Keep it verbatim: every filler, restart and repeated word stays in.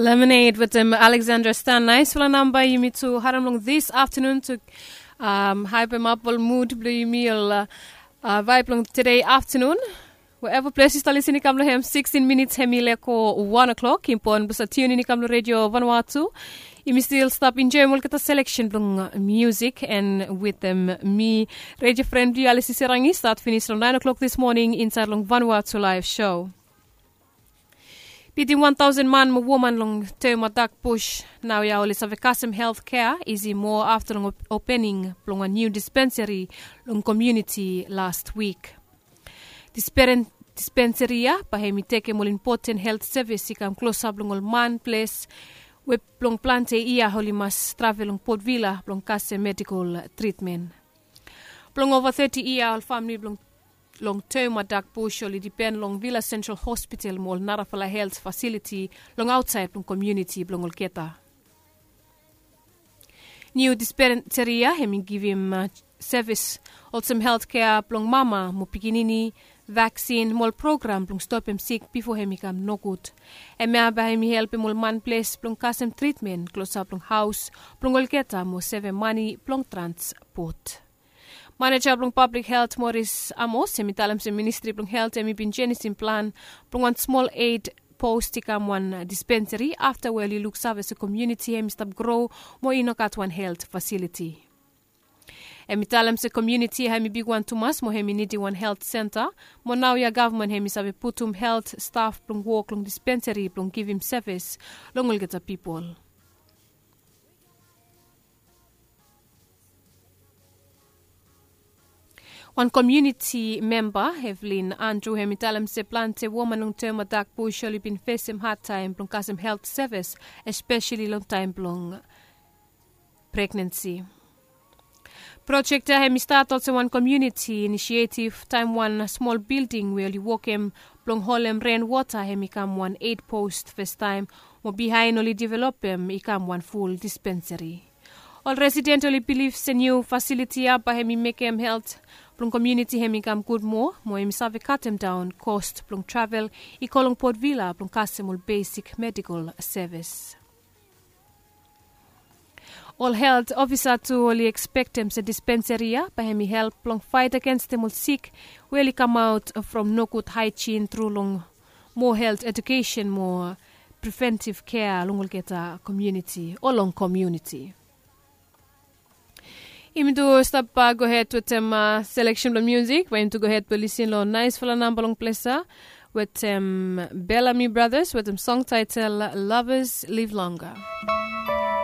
Lemonade wetem Alexandra Stan. Naisfala namba yumi tu harem long this afternoon tu um, haipem ap ol mood blong yumi ol uh, uh, vibe long today afternoon. Wherever place you start listening kam long hem sixteen minutes hem i leko one o'clock. Important blong sa tune in kam long radio Vanuatu. Yumi still stop enjoy olgeta selection blong uh, music and with them me radio friend blong Alice Serangi start finish long nine o'clock this morning inside long Vanuatu live show. Bitim wan tausen man mo woman long Teumadak Bush naoia oli save kasem helt kea isi moa afta long opening blong wan niu dispensari long komuniti las wik. Dispensari ya bae hem i tekem ol impoten helt sevis i kam klosap long ol man ples we blong plante yia oli mas travel long Port Vila blong kasem medikol tritmen. Blong ova teti yia ol famili blong long Teumadak Bush oli dipen long Vila Sentral Hospital mo ol narafala helt fasiliti long aotsaed blong komuniti blong olgeta. Niu dispensari ya hem i givim sevis olsem helt kea blong mama mo pikinini, vaksin mo ol program blong stopem sik bifo hem i kam nogud. Hemia bae hem i helpem ol man ples blong kasem tritmen klosap long haos blong olgeta mo sevem mane blong transpot. Maneja blong pablik helt Moris Amos hem i talem se ministri blong helt hem i bin jenisim plan blong wan smol eit post i kam wan dispensari afta we oli luksave se komuniti hem i stap gro mo i no gat wan helt fasiliti. Hem i talem se komuniti hem i bigwan tumas mo hem i nidim wan helt senta mo naoia gavman hem i save putum helt staf blong wok long dispensari blong givim sevis long olgeta pipol. Wan komuniti memba Evelyn Andrew hem i talem se plante woman long Teumadak Bush oli bin fesem hadtaem blong kasem helt sevis espeseli long taem blong pregnansi. Projek ya hem i stat olsem wan komuniti inisietiv taem wan smol bilding we oli wokem blong holem ren wota hem i kam wan eit post fastaem mo bihaen oli developem i kam wan ful dispensari. Ol residen oli bilif se niu fasiliti ya bae hem i mekem helt blong komuniti hem i kam gud moa mo hem i save katemdaon kost blong travel i go long Port Vila blong kasem ol besik medikol sevis. Ol helt ofisa tu oli ekspektem se dispensari ya bae hem i help blong fait agenstem ol sik we oli kamaot from nogud haejin tru long moa helt edukesen mo preventiv kea long olgeta komuniti o long komuniti. Yumi tu stap gohed wetem seleksen blong musik we yumi tu gohed blong lisin long naesfala namba long ples ya wetem Bellamy Brothers wetem song taetel Lovers Live Longer.